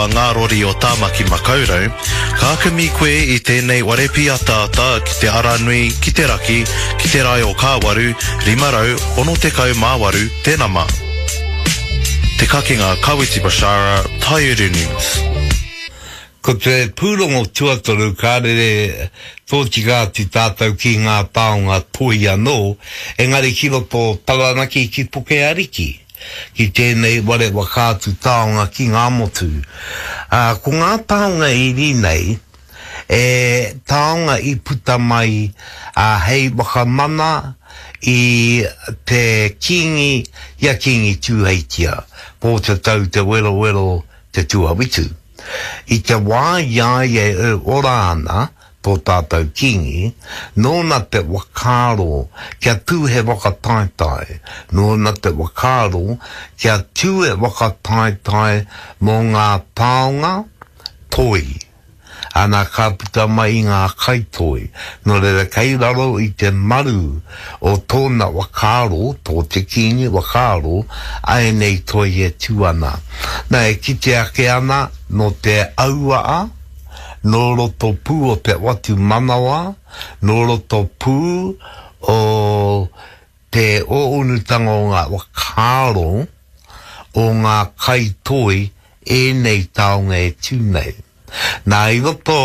a ngā rori o Tāmaki Makaurau, ka kimi koe i tēnei ware pīataata ki te aranui ki te raki, ki te rae o Kāwaru, 568 te nama. Te Kakenga Kawiti Bashara, Taiuru News. Ko te pūrongo tuatoru ka rere tōtika atu tātou ki ngā taonga toi anō, engari ki roto o Taranaki ki Puke Ariki, ki tēnei ware whakaatu taonga ki ngā motu. Ā, ko ngā taonga iri nei, e taonga i puta mai ā, hei whakamana i te Kīngi, i a Kīngi Tūheitia, Pōtatau Te Werowero Te Tuawhitu. I te wā i a ia e ora ana, tō tātou Kīngi, nōna te whakaaro kia tū he whakataetae, nōna te whakaaro kia tū he whakataetae mō ngā taonga toi. Ana ka puta mai i ngā kaitoi, nō reira kei raro i te maru o tōna whakaaro, tō te Kīngi whakaaro, āianei toi e tū ana. Nā, e kite ake ana nō te auaa, nō roto pū o te whatumanawa, nō roto pū o te ōunutanga o ngā whakaaro o ngā kaitoi ēnei taonga e tū nei. Nā, i roto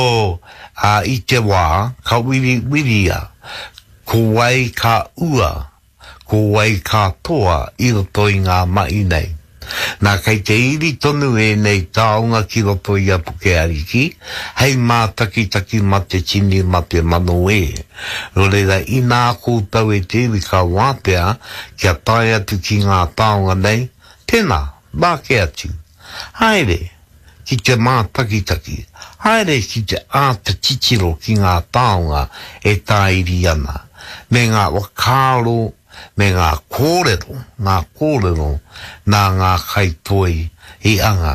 i te wā ka wiriwiria ko wai ka ua, ko wai ka toa i roto i ngā mahi nei. Nā, kei te iri tonu ēnei taonga ki roto i a Puke Ariki, hei mātakitaki ma te tini, ma te mano e. Nō reira, inā koutou e te iwi ka wātea kia tae atu ki ngā taonga nei, tēnā, māke atu. Haere ki te mātakitaki, haere ki te āta titiro ki ngā taonga e tāiri ana, me ngā whakaaro, me ngā kōrero, ngā kōrero nā ngā kaitoi i anga.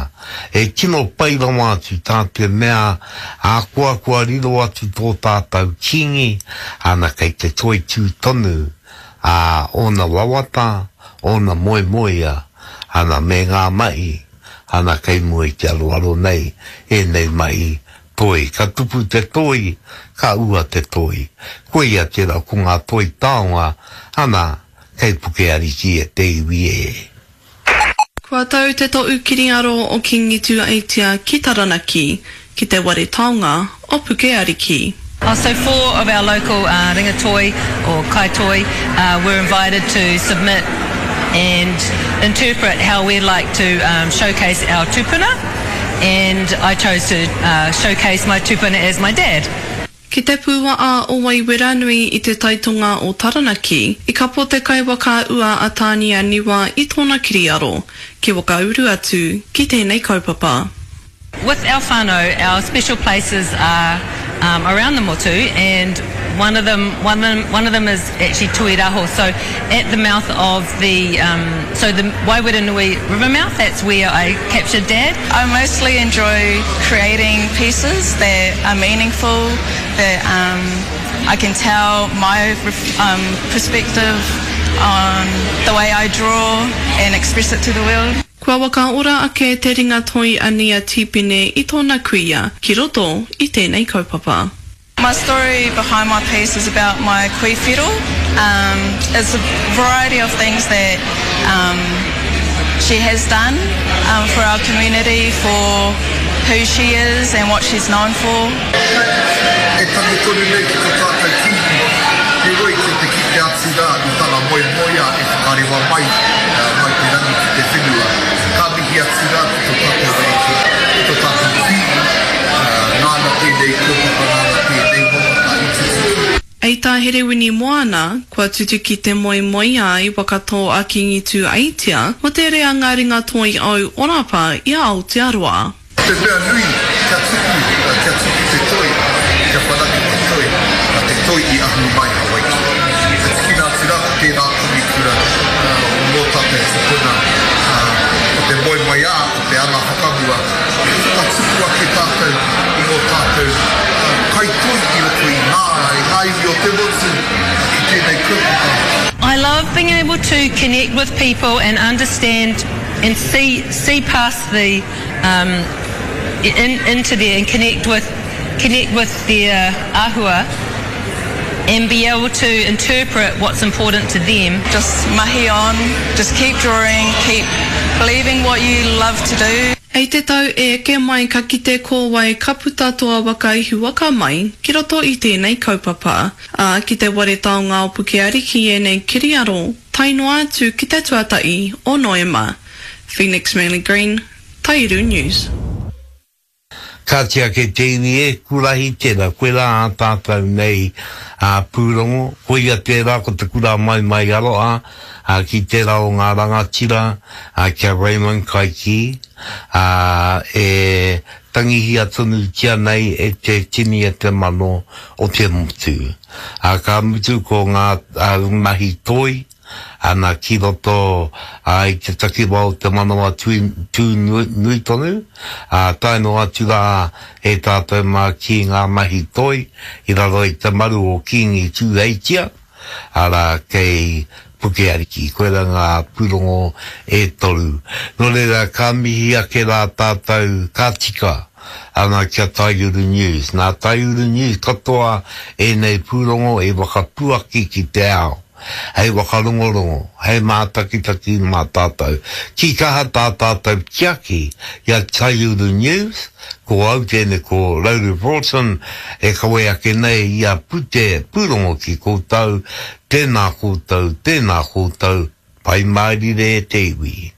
E tino pai rawa atu tā te mea ahakoa kua riro atu tō tātou Kīngi, ana kei te toitū tonu ā ōna wawata, ōna moemoea, ana me ngā mahi, ana kei mua i te aroaro nei ēnei mahi toi. Ka tupu te toi, ka ua te toi. Koia tērā ko ngā toi taonga, ana kei Puke Ariki e te iwi e. Kua tau te toʻu kiriaro o Kingi Tuaitia ki Taranaki, ki te ware taonga o Puke Ariki. Oh, so four of our local uh, ringatoi or kaitoi uh, were invited to submit and interpret how we'd like to um, showcase our tupuna and I chose to uh, showcase my tupuna as my dad. Ki te pūaa o Waiweranui i te taitonga o Taranaki, i kapo te kaiwaka ua a Tānia Niwa i tōna kiriaro, ki whakauru atu ki tēnei kaupapa. With our whānau, our special places are um, around the motu and one of them, one of them, one of them is actually Tuiraho. So at the mouth of the, um, so the Waiweranui River mouth, that's where I captured Dad. I mostly enjoy creating pieces that are meaningful, that um, I can tell my um, perspective on the way I draw and express it to the world. Kua whakaora ake te ringa toi a Nia Tipene i tōna kuia ki roto i tēnei kaupapa. My story behind my piece is about my kui whiro. Um, it's a variety of things that um, she has done um, for our community, for who she is and what she's known for. E tangi tonu nei ki to tātou Kīngi, heoi ki te kite atu rā i tana moemoeā e whakarewa mai, mai te rangi ki te whenua. Ka mihi atu rā ki to tātou Ariki, ki to tātou Kīngi, nāna tēnei kaupapa, nāna tēnei wawata i tutuki. Hei tā Herewini Moana, kua tutuki te moemoeā i whakatō a Kīngi Tūeitia mō te reanga ringatoi au orapa i a Aotearoa. Te mea nui, kia tupu, kia tupu te toi, kia whanake te toi, na te toi i ahu mai Hawaiki. Ka tikina atu rā ko tērā kamikura o ngō tātou tupuna, ko te moemoeā, ko te anga whakamua, e whakatupu ake tātou i ngō tātou kaitoi i roto i ngā, i ngā iwi o te motu ki tēnei kaupapa. I love being able to connect with people and understand and see see past the um. in, into there and connect with, connect with their ahua and be able to interpret what's important to them. Just mahi on, just keep drawing, keep believing what you love to do. Hei te tau e eke mai ka kite ko wai ka puta toa waka ihu waka mai ki roto i tēnei kaupapa. Ā, ki te ware taonga o Pukeariki ēnei kiriaro tae noa atu ki te tuatahi o Noema. Phoenix Manly Green, Taiuru News. Kāti ake te iwi e, kurahi tērā, koirā ā tātou nei pūrongo, koia tērā ko te kura maimai aroha ki tērā o ngā rangatira, ki a Raymond Kaikī, ā, e tangihia tonutia nei e te tini e te mano o te motu. Ā, ka mutu ko ngā mahi toi, Ana ki roto i te takiwa o te manawa tū nui tonu, ā, tae noa atu rā e tātou mā ki ngā mahi toi i raro i te maru o Kīngi Tūheitia, arā, kei Puke Ariki. Koirā ngā pūrongo e toru. Nō reira, ka mihi ake rā tātou, ka tika ana ki a Taiuru News. Nā Taiuru News katoa ēnei pūrongo i whakapuaki ki te ao. Hei whakarongorongo, hei mātakitaki mā tātou. Ki kaha tā tātou tiaki i a Taiuru News, ko au tēnei ko Rauru Broughton e kawe ake nei i a Pute Pūrongo ki koutou, tēnā koutou, tēnā koutou, Pai mārire e te iwi.